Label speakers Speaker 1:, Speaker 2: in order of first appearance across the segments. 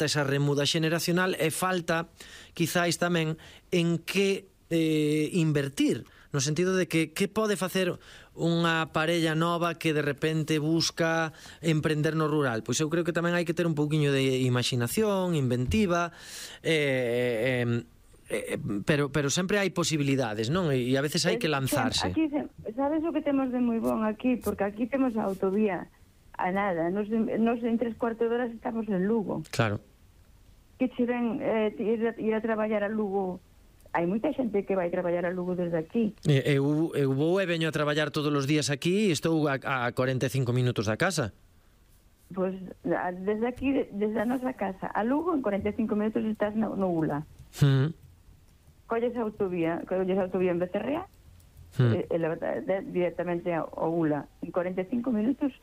Speaker 1: esa remuda xeneracional e falta quizáis tamén en que invertir, no sentido de que pode facer unha parella nova que de repente busca emprender no rural. Pois eu creo que tamén hai que ter un pouquiño de imaginación, inventiva, pero sempre hai posibilidades, non? E a veces hai que lanzarse.
Speaker 2: Aquí, sabes o que temos de moi bon aquí? Porque aquí temos a autovía a nada. Nos en 3/4 de horas estamos en Lugo.
Speaker 1: Claro.
Speaker 2: Que che ven ir a traballar a Lugo. Hai moita xente que vai traballar a Lugo desde aquí.
Speaker 1: Eu vou e veño a traballar todos os días aquí e estou a 45 minutos da casa.
Speaker 2: Pois desde aquí, desde a nosa casa a Lugo, en 45 minutos estás no Ula. Colles a autovía en Becerrea e directamente ao Ula. En 45 minutos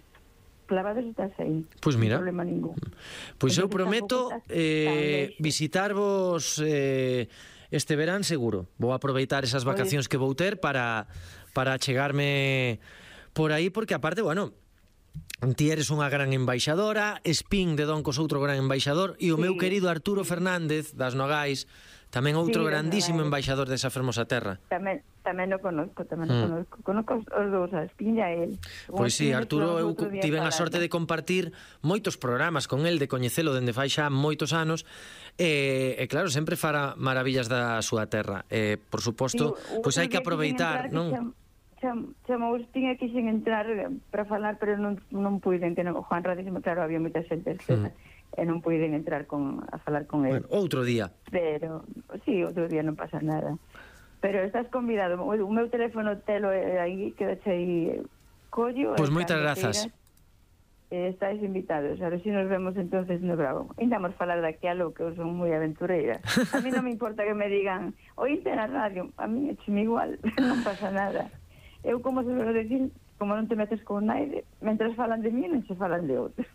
Speaker 2: clavados estás aí.
Speaker 1: Pois mira,
Speaker 2: non problema ningún.
Speaker 1: Pois eu prometo visitarvos este verán seguro. Vou aproveitar esas vacacións que vou ter para chegarme por aí, porque aparte, bueno, ti eres unha gran embaixadora, Spin de Doncos outro gran embaixador, e o meu querido Arturo Fernández das Nogais tamén outro grandísimo embaixador desa fermosa terra.
Speaker 2: Tamén o conozco, conozco os dous, a Spin e a él.
Speaker 1: Pois sí, Arturo, eu tive a sorte de compartir moitos programas con él, de coñecelo dende fai xa moitos anos, e claro, sempre fará maravillas da súa terra. Por suposto, pois hai que aproveitar, non?
Speaker 2: Chamou Spin e quixen entrar para falar, pero non puiden, que Juan Radísimo, claro, había moita xente e non puiden entrar a falar con ele.
Speaker 1: Bueno, outro día.
Speaker 2: Pero, sí, outro día non pasa nada. Pero estás convidado. O meu teléfono telo aí, quedache aí collo.
Speaker 1: Pois moitas grazas.
Speaker 2: Estáis invitados. A ver se nos vemos entonces no Bravo. Indamos falar daqui a lo que eu son moi aventureira. A mí non me importa que me digan oíste na radio. A mí é igual, non pasa nada. Eu, como se vou decir, como non te metes con naide, mentras falan de mí, non se falan de outros.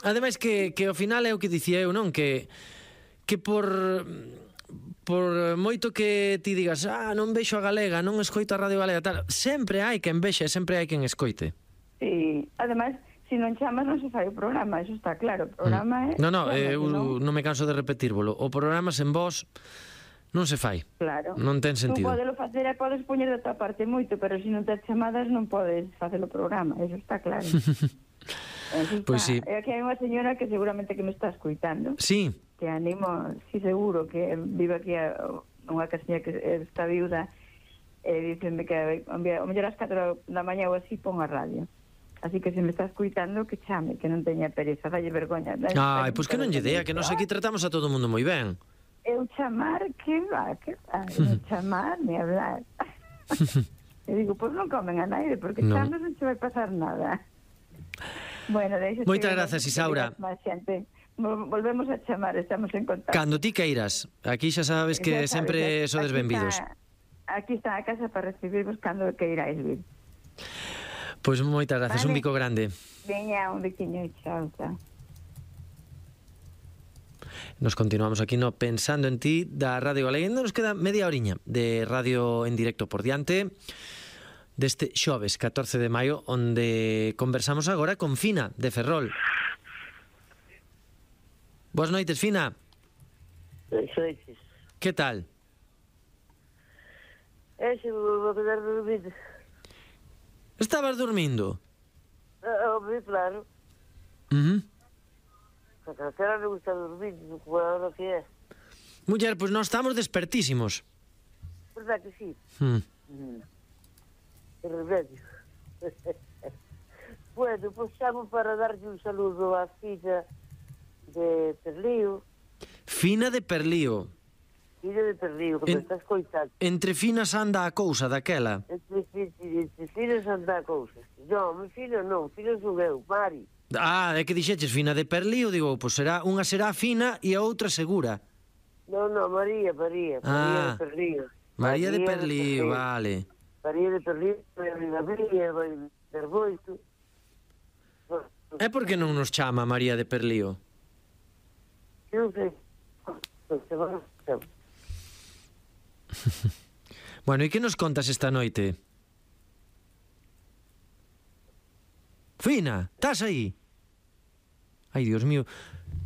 Speaker 1: Ademais que ao final é o que dicía eu, non? Que por moito que ti digas non vexo a galega, non escoito a radio galega, tal, sempre hai quen vexe, sempre hai quen escoite.
Speaker 2: Sí, ademais, se non chamas non se fai o programa, eso está claro. O programa é...
Speaker 1: Non, eu non me canso de repetírvolo. O programa sen vos non se fai.
Speaker 2: Claro.
Speaker 1: Non ten sentido.
Speaker 2: Tú podelo facer e podes poñer da tua parte moito, pero se non tes chamadas non podes facer o programa, eso está claro.
Speaker 1: Pois sí.
Speaker 2: E aquí hai unha señora que seguramente que me está escuitando.
Speaker 1: Sí.
Speaker 2: Que animo, sí, seguro, que vive aquí unha casiña que está viuda e dícenme que o mellor ás 4 da mañá ou así pon a radio. Así que se me está escuitando que chame, que non teña pereza, dalle vergoña.
Speaker 1: Pois que non lle dea, que nos aquí tratamos a todo o mundo moi ben.
Speaker 2: Eu chamar, que va, non chamar, ni hablar. E digo, pois non comen a naide, porque chamas non se vai pasar nada. Bueno,
Speaker 1: moitas grazas, Isaura.
Speaker 2: Volvemos a chamar, estamos en contacto.
Speaker 1: Cando ti queiras, aquí xa sabes que sempre sodes benvidos.
Speaker 2: Aquí está a casa para recibirvos cando queiráis vir.
Speaker 1: Pois moitas grazas, un bico grande.
Speaker 2: Veña, un biquiño, chao, chao.
Speaker 1: Nos continuamos aquí no Pensando en Ti da Radio Galega. Nos queda media horiña de radio en directo por diante deste xoves 14 de maio, onde conversamos agora con Fina de Ferrol. Boas noites, Fina.
Speaker 3: Boas noites.
Speaker 1: Que tal?
Speaker 3: Se vou quedar dormido.
Speaker 1: Estabas dormindo?
Speaker 3: Obvio, claro. A calquera me gusta dormir, como é o que é.
Speaker 1: Muller, pois nós estamos despertísimos.
Speaker 3: Verdad que sí? Que remedio. Bueno, pois chamo para darlle un saludo á filla de Perlío.
Speaker 1: Fina de Perlío.
Speaker 3: Filla de Perlío, que me está escoitando.
Speaker 1: Entre finas anda a cousa daquela.
Speaker 3: Entre finas anda a cousa. Non, mi filho non, filho son eu, Mari.
Speaker 1: É que dixeches Fina de Perlío, digo, pois unha será fina e a outra segura.
Speaker 3: Non, María de Perlío.
Speaker 1: María de Perlío, vale.
Speaker 3: María de Perlío, vai a María, vai ter moito.
Speaker 1: E por que non nos chama María de Perlío?
Speaker 3: Non sei.
Speaker 1: Bueno, e que nos contas esta noite? Fina, estás aí? Ai, Dios mío.